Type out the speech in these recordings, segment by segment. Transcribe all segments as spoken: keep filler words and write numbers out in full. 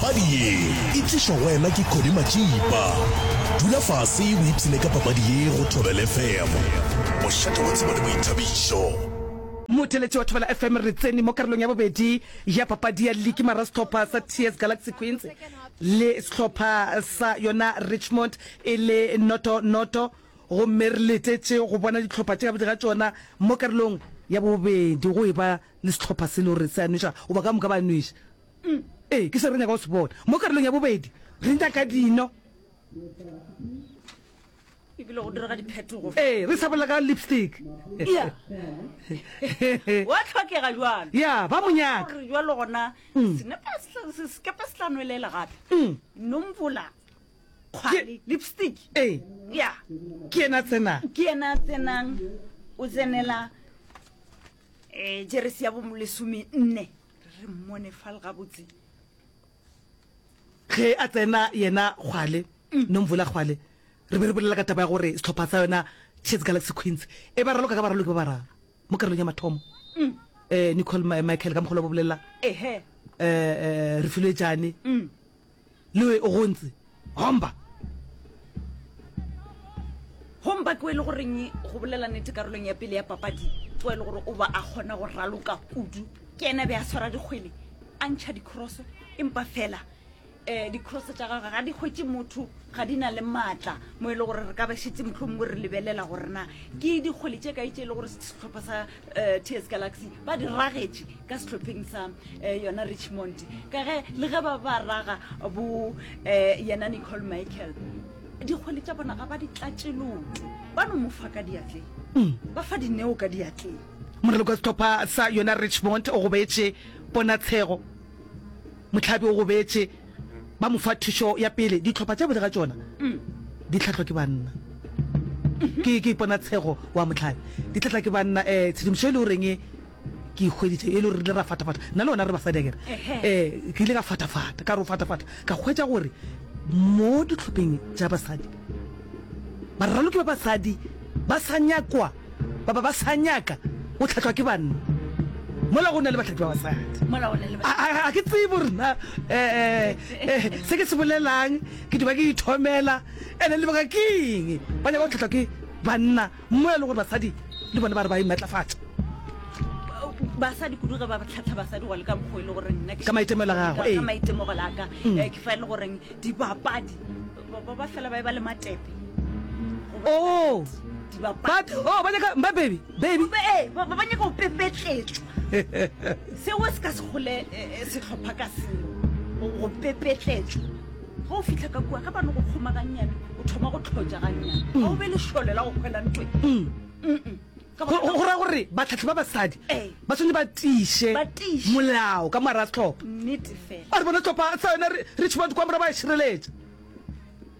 Papadi ye e tlišwa go wena ke Connie Matšipa. Dula fase o ipshine ka papadi ye go Thobela F M, mošate wa tsebo le boithabišo. Motheeletši wa Thobela F M, re tsene mo karolong ya bobedi ya papadi ya liki mara sehlopha sa T S Galaxy Queens le sehlopha sa yona Richmond e le noto noto, gomme re letetše go bona dihlopha tše ka bobedi ga tšona mo karolong ya bobedi go e ba le sehlopha se le gore se a nweša goba ka moka ba nweša. Ee, ke se re nyaka go se bona mo karolong ya bobedi, re nyaka dino. Ebile go direga diphetogo. Ee, re sa bolela ka lipstick. Ya wa tlhokega jalo. Ya ba monyaka. Gore jalo gona senepe se- sekepe se tla nwelela gape. Nomvula Kgwale, lipstick. Ee. Ya. Ke yena tsenang. Ke yena a tsenang, o tsenela um jeresi ya bolesome nne, re mmone fal gabotse. Ge a tsena yena Kgwale, Nomvula Kgwale, re be re bolela ka taba ya gore sehlopha sa yona T S Galaxy Queens e ba raloka ka baraloki ba bararo mo karolong ya mathomo, um Nicole Michael ka mokgolo ba bolela, ehe um Refilwe Jane le o gontse Homba. Homba ke o e le goreng, go bolela nnete, karolong ya pele ya papadi ke o e le gore o ba a kgona go raloka kudu. Ke ena be a swara dikgwele, a ntšha dicrosso, empa fela um dicrosso tša gagwe ga di hwetše motho, ga di na le maatla mo e le gore re ka ba šetse motlho mongwe re lebelela gore na ke dikgwele tše kae tše e le gore sehlopha sa um T S Galaxy ba di ragetše ka sehlopheng sa um yona Richmond, ka ge le ge ba ba raga bo um yena Nicole Michael, dikgwele tša bona ga ba di tlatše loto, ba no mo fa ka diatleng, ba fa dineo ka diatleng. Moraloki wa sehlopha sa yona Richmond o gobetše, Ponatshego Mohlabi o gobetše, ba mo fa thušo ya pele. Dihlopha tša bodi ga tšona di hlahlwa ke banna. Ke ke Ponatshego wa Mohlabi, di hlahlwa ke banna. um tshedimošo e le goreng ke e hweditše, e le gore re ile ra fatafata nna le wena re basadi akere, um ke ile ka fatafata, ka re o fatafata, ka hwetša gore mo dihlopheng tša basadi baraloki ba basadi ba sa nyakwa, ba ba ba sa nyaka go hlahlwa ke banna mola go na le bahlahli ba basadi. Mola go na le A- a a ke tsebe gore na um se ke se bolelang ke diba ke ithomela ene lebaka ke eng ba nyaka go hlahlwa ke banna mo e le gore basadi le bona ba re ba imatlafatša. Basadi kudu ge ba tlhatlha basadi go le ka mokgwa e le gore nna ke Ka maitemogelo a gago, ka ee. ka maitemogelo a ka, eh, ke fa e le goreng dibapadi ba ba- ba fela ba e ba le matepe. Oh, dibapadi but oh, ba nyaka ba baby baby. Ee, ba ba nyaka go pepetletšwa, seo se ka se gole eh, eh, sehlopha ka selo go go pepetletšwa. Ge o fitlha ka kua, ge ba no go kgoma gannyane, o thoma go tlhotša gannyane, ga o be lešole la go hwela ntweng. Mm-mm. Ka go baka go ra gore batlhatlhi ba basadi Ee. ba tshwanetse ba tiiše Ba tiiše. Molao ka moara sehlopha. Nnete fela. A re bona sehlopha sa yona Richmond kwa morago ba e šireletša.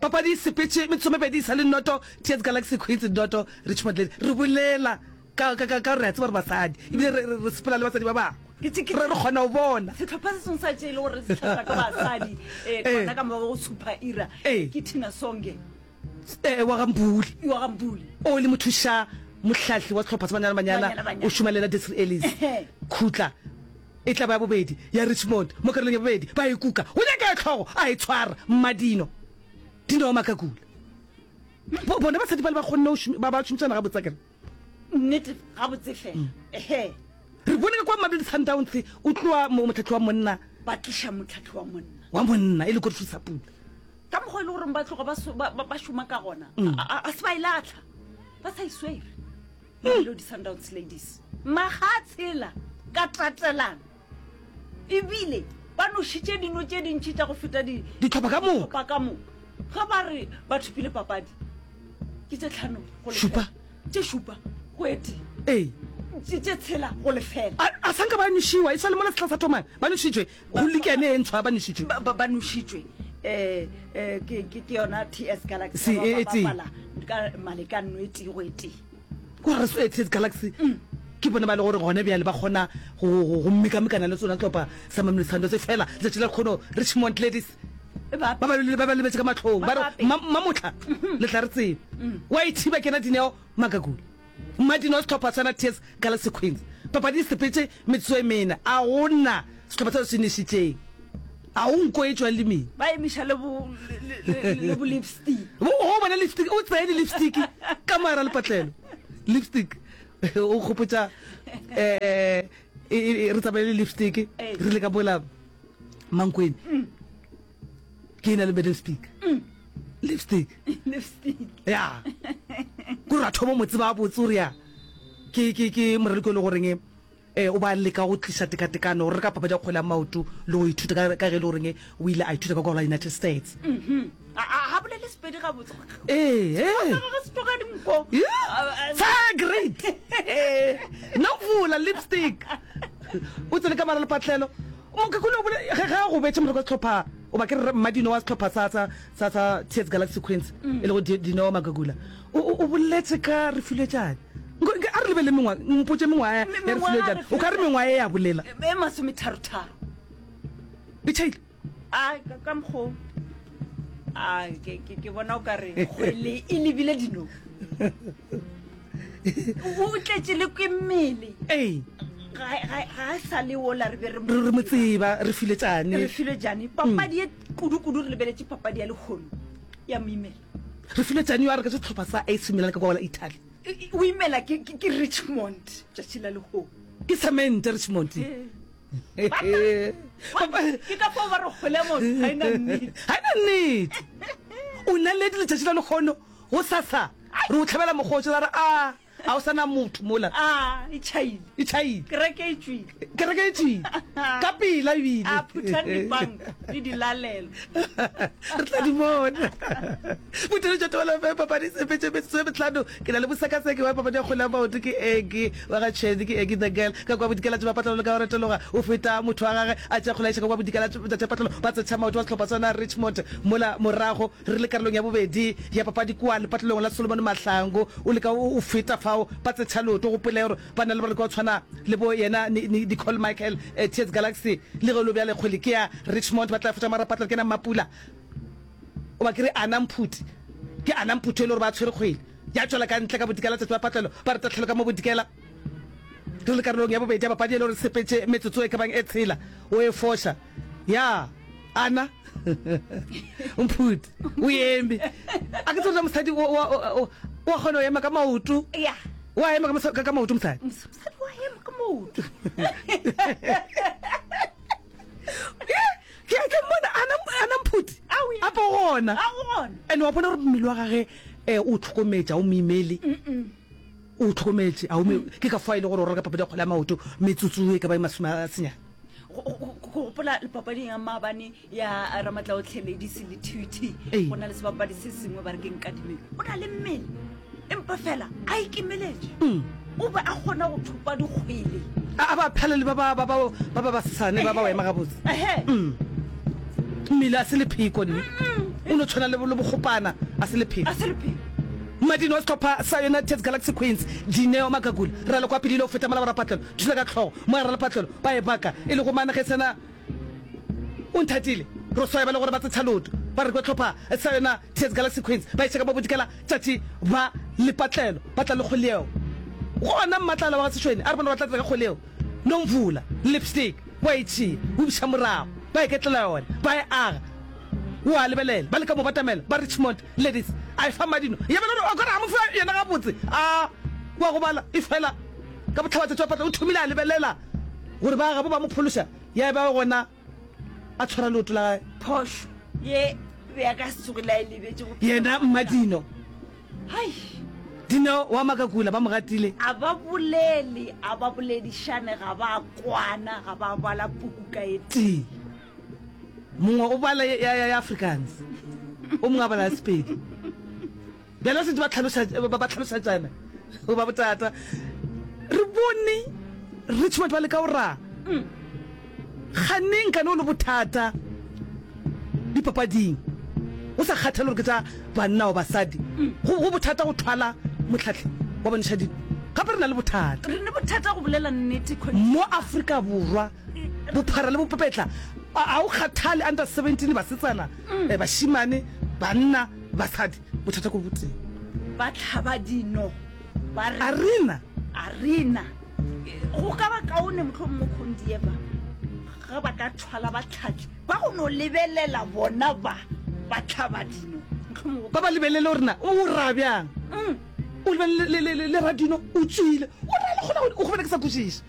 Papadi e sepetše metsomepedi e sa le noto, T S Galaxy Queens noto, Richmond Ladies. Re bolela ka ka ka ka re a tseba gore basadi ebile re re re sepela le basadi ba bangwe, Ke tse- ke- re re kgona go bona. Sehlopha se sengwe sa tše e le gore se hlahlwa ke basadi um Ee. gona ka morago go Super Era Ee. ke Tina Songe. Eh, wa ga Mpule. Wa ga Mpule. O le mothuša mohlahli wa sehlopha sa Banyana Banyana, Banyana Banyana. o šoma le yena Desiree Ellis. Ehe. Khutla e tla ba ya bobedi ya Richmond mo karolong ya bobedi, ba e kuka go nyaka ya tlhogo, a e tshwara Mmadino Dino Makakula. Bo- bona basadi ba le ba kgonne go šomi- ba ba šomišana gabotse akere. Nnete, gabotse fela, ehe. Re bone ka kwa Mamelodi Sundowns o tloa mo motlhatlhi wa monna. Ba tliša motlhatlhi wa monna. Wa monna e le Godfrey Sapula. Ka mokgwa e le goreng ba tloga ba so- ba ba- ba šoma ka gona, a a- a se ba e latlha, ba sa iswere Mamelodi Sundowns Ladies maga a tshela ka tatelano, ebile ba nošitše dino tše dintšhi tša go feta di ditlhopha ka moka. Ditlhopha ka moka. Ge ba re ba thopile papadi ke tše tlhano go lefela. Šupa. Tše šupa go e tee. Ee. Tše tše tshela go lefela. A a sanka ba nošiwa e sa le mola sehla sa thomang, ba nošitšwe go likene e ntshwa, ba nošitšwe. Ba ba- ba nošitšwe eh eh ke ke ke yona T S Galaxy. Se- ba e- e ba tee. bapala ka malekano e tee go e tee. Gore re T S Galaxy ke bone ba le gore gone bjale ba kgona go go go mekamekana le tsona tlhopha sa Mamelodi Sundowns, fela letšatši la kgono Richmond Ladies E ba ba ba ba ba lebetse ka matlhong, ba re Ba bape. Mamotla le tla re tsebe wa ithiba. Kena Dineo Makakula, Mmadino sehlopha sana T S Galaxy Queens. Papadi e sepetse metsotso e mene, a gona sehlopha seo se nešitšeng. A o nko e tšwang lemeng. Ba emiša le bo le bo lipstick. Bo o bona lipstick, o tseye le lipstick ka mogare lepatlelo. Lipstick o gopotša eh re tsamaye le lipstick re le ka bola Mankweng. Ke ena le Madam Speaker. Lipstick. Lipstick. Ya. Ko ra thoma mo tseba botse gore ya. Ke ke ke moraloki o le goreng eh o ba leka go tliša tekatekano gore re ka papadi ya kgwele ya maoto le go ithuta ka ka ge e le goreng o ile a ithuta ka kwa la United States. Mhm. A a bolele Sepedi gabotse. Ee, ee. Ga se tloga dinko. Yeah. Sa great. Nomvula lipstick. O tsene ka mara lepatlelo. Mokekolo o bole ge ge a gobetše moreko wa sehlopha o ba ke re Mmadino wa sehlopha sa sa sa sa T S Galaxy Queens e lego Dineo Magagula. O o boletse ka Refiloe A re lebelele mengwa, mpotše mengwaga ya Refiloe O ka re mengwaga e ya bolela. E masometharotharo. E tšhaile? A ka mokgo a ke ke ke bona o ka re kgwele e lebile dino. O tletše le ke mmele. Ee. Ga ga ga sa le ola re be re re mo tseba Refiloe Refiloe Papadi e kudu kudu re lebeletše papadi ya lehono ya moimela. Refiloe yo a re ka sehlopha sa A C Milan ka kwa la Italy. O imela ke ke Richmond tšatši la lehono. Ke cement Richmond. Ke ka fao ba re kgwele motho ga ena nnete. Ga ena nnete. O naledi letšatši la lehono go sasa re o hlabela mokgoši ra re a a o sana motho mola. A e tšhaile. E tšhaile. Kereke e tšwile. Kereke e tšwile. Ka pela ebile. A phuthang dipanka le dilalelo. Re tla di bona. Botheletšo Thobela F M papadi sepetše metsotso e mehlano. Ke na le mosekaseki wa papadi ya kgwele ya maoto ke Eggy wa ga Tšhedi ke Eggy the girl ka kua bodikela tša mapatlelo le ka go retologa o feta motho wa gage a tšea kgwele a iša ka kua bodikela tša patlelo ba tsetšha maoto wa sehlopha sona Richmond mola morago re le karolong ya bobedi ya papadi kua lepatlelong la Solomon Mahlangu o leka o feta fao ba tsetšha leoto gopole gore ba na le baraloki ba go tshwana le bo yena Nicole Michael T S Galaxy le ge e le bjale kgwele ke ya Richmond ba tla fetša marapatlelo ke yena Mmapula o ba ke re Ana Mphuti ke Ana Mphuti e le gore ba tshwere kgwele ya tšwela ka ntle ka bodikela tšatši ba patlelo ba re tahlelo ka mo bodikela re le karolong ya bobedi ya papadi e le gore sepetše metsotso e ka bang e tshela o e foša ya Ana Mphuti o eme a ke tsore mosadi o o o kgona go ema ka maoto ya wa ema ka ka maoto mosadi mosadi wa ema ka maoto ke ke mmona Ana Ana Mphuti a po gona and wa bona gore mmele wa gage eh o tlhokometša o moimele o tlhokometše a o ke ka fa ile gore o reka papadi ya kgwele ya maoto metsotso e ka ba e masome a senyane. Go gopola papading ya maabane ya Ramatlaotlhe Ladies le T U T go na le sebapadi se sengwe ba re ke Nkadimeng o na le mmele empa fela a ikemeletše o be a kgona go thopa dikgwele a ba phela le ba ba ba ba ba basesane ba ba ema gabotse mmele a se lepheko nne o no tshwana le le bokgopana a se lepheko a se lepheko Madino wa sehlopha sa United Galaxy Queens Dineo Magagula ra le kwa pele ile go feta mola borapatlelo thula ka hlogo moya ralepatlelo ba e baka e le go mane ge sena o nthatile ro swaya ba le gore ba tsetšha leoto ba re kwa hlopha sa yona T S Galaxy Queens ba iša ka mo bodikela tšatši ba lepatlelo ba tla le kgwele yeo gona Mmatlala wa ga Sešweni a re bona ba tla tla ka kgwele yeo Nomvula lipstick wa e tšea o biša morago ba iketlela yona ba e aga o a lebelela ba leka mo batamela ba Richmond Ladies a e fa Madino ya bela o kare a mo fa yena gabotse a wa go bala e fela ka botlhabatšatši wa patla o thomile a lebelela gore ba gabo ba mo phološa ya ba gona a tshwara leoto la gae phošo ye be a ka se tsoge la e lebetše go yena Mmadino hai Dino wa Makakula ba mo gatile a ba bolele a ba boledišane ga ba kwana ga ba bala puku ka e tee mongwe o bala ya ya ya Afrikaans o mongwe a bala ya Sepedi bjale setse ba tlhaloša ba tlhalošatšana go ba botata re bone Richmond ba leka go ra ganeng kane o le bothata dipapading o sa kgathale gore ke tša banna o basadi go go bothata go thwala motlhatlhi wa bontšha dino gape re na le bothata re ne bothata go bolela nnete mo Afrika Borwa bophara le bopepetla a o kgathale under seventeen basetsana mm. bashimane banna basadi bothata ko boteng ba tlhaba dino ba re arena arena go ka ba kaone mohlomongwe Khondieva ga ba ka thwala batlhatli ba go no lebelela bona ba ba tlhaba dino mohlomongwe Ba ba lebelele gore na o ra bjang. Mm. O lebelele le- le- le- le radino o tswile. O ra le kgona go o kgona ke sa kwešiše.